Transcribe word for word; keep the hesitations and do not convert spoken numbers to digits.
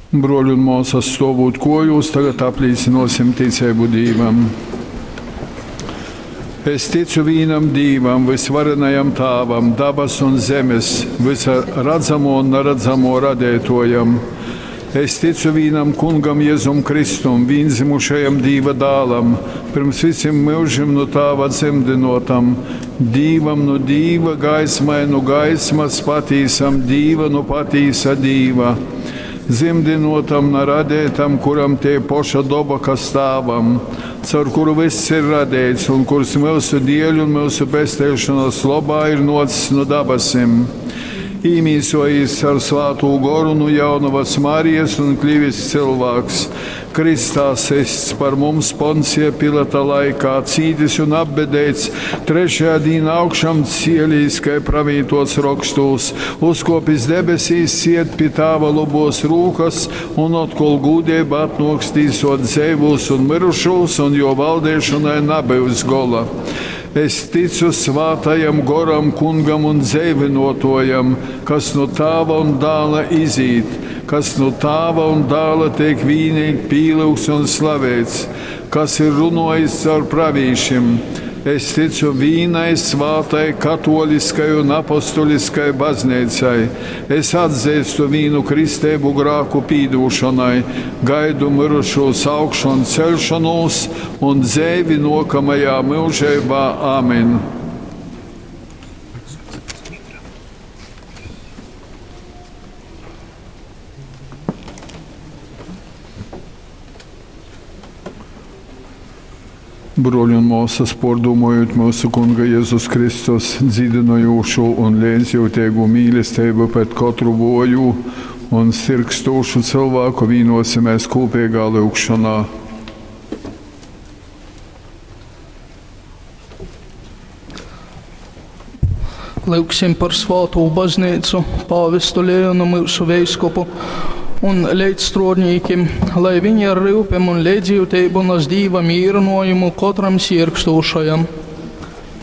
Bruoļi un muosys, stuovūt kuojuos, tagad aplīcynuosim ticeibu Dīvam. Es ticu vīnam Dīvam, vysvarenajam Tāvam, dabasu un zemes, vysa radzamuo un naradzamuo radeituojam. Es ticu vīnam Kungam Jezum Kristum, vīndzymušajam Dīva dālam, pyrms vysim myužim nu Tāva dzymdynuotam, Dīvam nu Dīva, gaismai nu gaismas, patīsam Dīva nu patīsa Dīva, dzymdynuotam, na radeitam, kuram tei poša doba, kas Tāvam, caur kuru vyss ir radeits un kurs myusu dieļ un myusu pesteišonys lobā ir nuocs nu dabasim. Īmīsuojīs caur Svātū Goru nu jaunovas Marijas un klivis cylvāks, krystā systs par mums Poncija Pilata laikā, cītis un apbedeits, trešajā dīnā augšām cielīs, kai pravītots rokstūs, uzkuopis debesīs, sied pi Tāva lobos rūkas un otkol gūdeibā atnuoks tīsuot dzeivūs un myrušūs, un juo valdeišonai nabyus gola. Es ticu Svātajam Goram, Kungam un dzeivynuotuojam, kas nu Tāva un Dāla izīt, kas nu Tāva un Dāla teik vīneigi pīlyugts un slaveits, kas ir runuojis caur pravīšim. Es ticu vīnai svātai katoliskai un apostoliskai bazneicai. Es atzeistu vīnu kristeibu grāku pīdūšonai, gaidu myrušūs augšon ceļšonūs un dzeivi nuokamajā myužeibā. Amen. Bruoļi un muosys, puordūmojūt myusu Kunga Jezus Kristus dzīdynojūšū un leidzjiuteigū mīlesteibu pret kotru vuojū un sirgstūšu cylvāku, vīnuosimēs kūpeigā lyugšonā. Lyugsim par svātū bazneicu, pāvestu Leonu myusu veiskupu un leidzstruodnīkim, lai viņi ar ryupem un leidzjiuteibu nas Dīva mīrynuojumu kotram siergstūšajam.